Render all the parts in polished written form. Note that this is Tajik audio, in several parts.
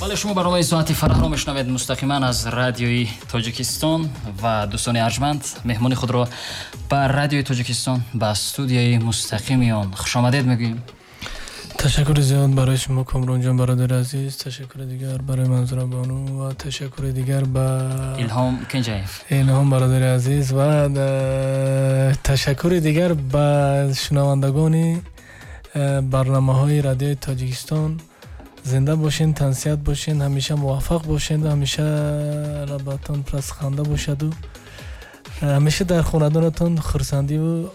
Бале, шумо барномаи «Соати фараҳро» мешунавед мустақиман аз Радиои Тоҷикистон ва, дӯстони арҷманд, меҳмони худро ба Радиои Тоҷикистон, ба студияи мустақими он хушомадед мегӯем. Ташаккури зиёд барои шумо, Комронҷон, бародари азиз, ташаккури дигар барои Манзура бону ва ташаккури дигар ба Илҳом Кенҷаев. Илҳом, бародари азиз, ва ташаккури дигар ба шунавандагони барномаҳои Радиои Тоҷикистон. Зинда бошен, тансиҳат бошен, ҳамеша муваффақ бошед, ҳамеша лабатон пур аз ханда бошаду ҳамеша дар хонадонатон хурсандиву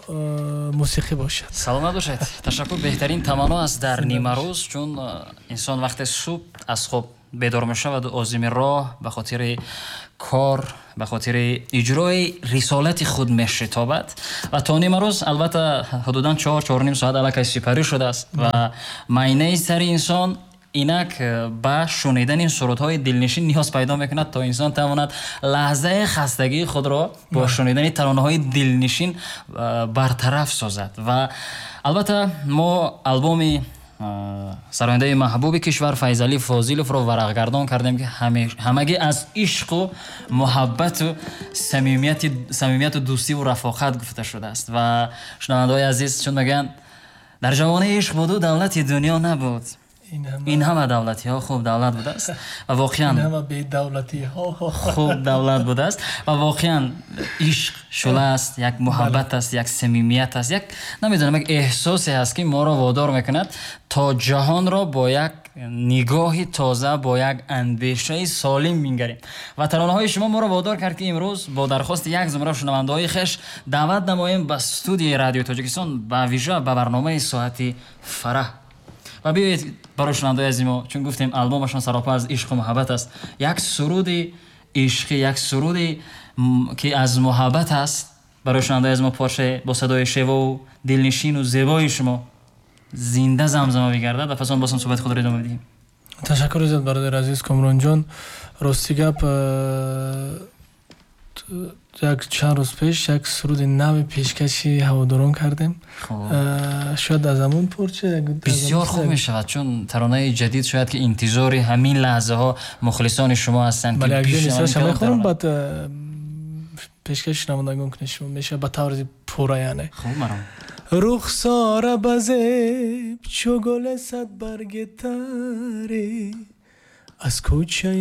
мусиқӣ бошад. Саломат бошед, ташаккур. Беҳтарин таманно аст дар нимарӯз, чун инсон вақте субҳ аз хоб бедор мешаваду озими роҳ, ба хотири кор, ба хотири иҷрои рисолати худ мешитобад ва то нимарӯз, албатта, ҳудудан 4-4:30 соат аллакай сипарӣ шудааст ва майнаи сари инсон инак ба шунидани сурудҳои дилнишин ниёз пайдо мекунад, то инсон тавонад лаҳзаи хастагии худро бо шунидани таронаҳои дилнишин бартараф созад. Ва албатта мо албоми сарояндаи маҳбуби кишвар Файзалӣ Фозиловро варақгардон кардем, ки ҳамагӣ аз ишқу муҳаббату самимияту дӯстиву рафоқат гуфта шудааст. Ва шунавандаҳои азиз, чун мегӯянд, дар ҷавонӣ ишқ буду давлати дунё набуд, ин ҳама давлатиҳо хуб давлат будааст ва воқеан хуб давлат будааст. Ва воқеан ишқ шӯла аст, як муҳаббат аст, як самимият аст, як, намедонам, як эҳсосе ҳаст, ки моро водор мекунад, то ҷаҳонро бо як нигоҳи тоза, бо як андешаи солим бингарем. Ва таронаҳои шумо моро водор кард, ки имрӯз бо дархости як зумра шунавандаҳои хеш даъват намоем ба студияи Радиои Тоҷикистон, ба вижа ба барномаи «Соати фараҳ». Ва биёед, барои шунавандаои азизи мо, чун гуфтем, албомашон саропа аз ишқу муҳаббат аст, як суруди ишқӣ, як суруди, ки аз муҳаббат аст, барои шунавандаои аз мо порчае бо садои шевову дилнишину зебои шумо зинда замзама бигардад ва пас он боз ҳам суҳбати худро идома медиҳем. Ташаккури зиёд, бародари азиз Комронҷон. Рости гап, як чанд рӯз пеш як суруди нави пешкаши ҳаводорон кардем. Шояд аз ҳамон порча. Бисёр хуб мешавад, чун таронаи ҷадид, шояд ки интизори ҳамин лаҳзаҳо мухлисони шумо ҳастанд. Мехонам, баъд пешкаши шунавандагон кунед шумо, мешавад ба таври пурра, яъне. Хуб, маром. Рухсора ба зеб чу гули садбарги таре, аз кӯчаи